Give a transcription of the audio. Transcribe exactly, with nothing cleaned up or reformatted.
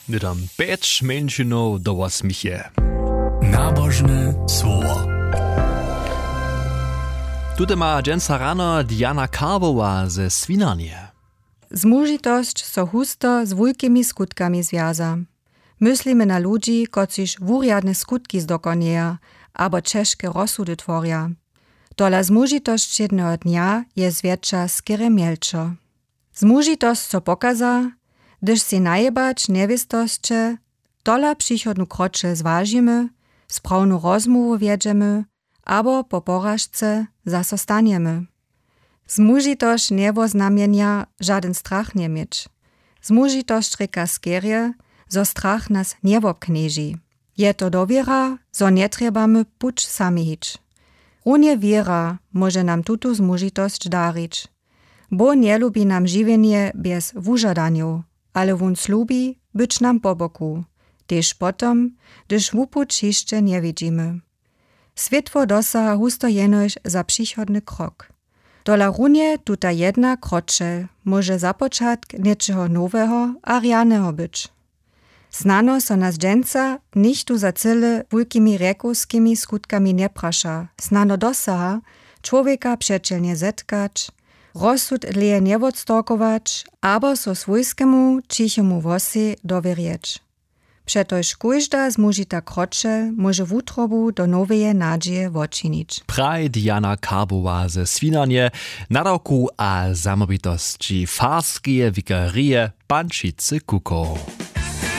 Hnydom pjeć mjeńšinow do wosmich je. Nabožne słowo. Tute ma dźensa rano Diana Karbowa ze Swinarnje. Zmužitosć so husto z wulkimi skutkami zwjaza. Myslimy na ludźi, kotřiž wurjadne skutki zdokonjeja abo ćežke rozsudy tworja. Tola zmužitosć wšědneho dnja je zwjetša skerje mjelčo. Zmužitosć so pokaza, hdyž sej najebać njewěstosće, tola přichodnu kroćel zwažimy, sprawnu rozmołwu wjedźemy abo po poražce zaso stanjemy. Zmužitosć njewoznamjenja žadyn strach njeměć. Zmužitosć rěka skerje, zo strach nas njewobknježi. Je to dowěra, zo njetrjebamy puć sami hić. Runje wěra móže nam tutu zmužitosć darić. Bóh njelubi nam žiwjenje bjez wužadanjow, ale wón slubi być nam po boku, tež potom, hdyž wupuć hišće njewidźimy. Swětło dosaha husto jenož za přichodny krok. Tola runje tuta jedna kroćel móže započatk něčeho noweho a rjaneho być. Snano so nas dźensa nichtó za cyle wulkimi rjekowskimi skutkami njepraša, snano dosaha, čłowjeka přećelnje zetkać, rozsud dlěje njewótstorkować abo so swójskemu ćichemu włosej dowěrjeć. Přetož kóžda zmužita kroćel móže wutrobu do noweje nadźije wočinić. Praj Diana Karbowa ze Swinarnje, nadawku a zamołwitosći farskeje wikarije Pančicy Kukow.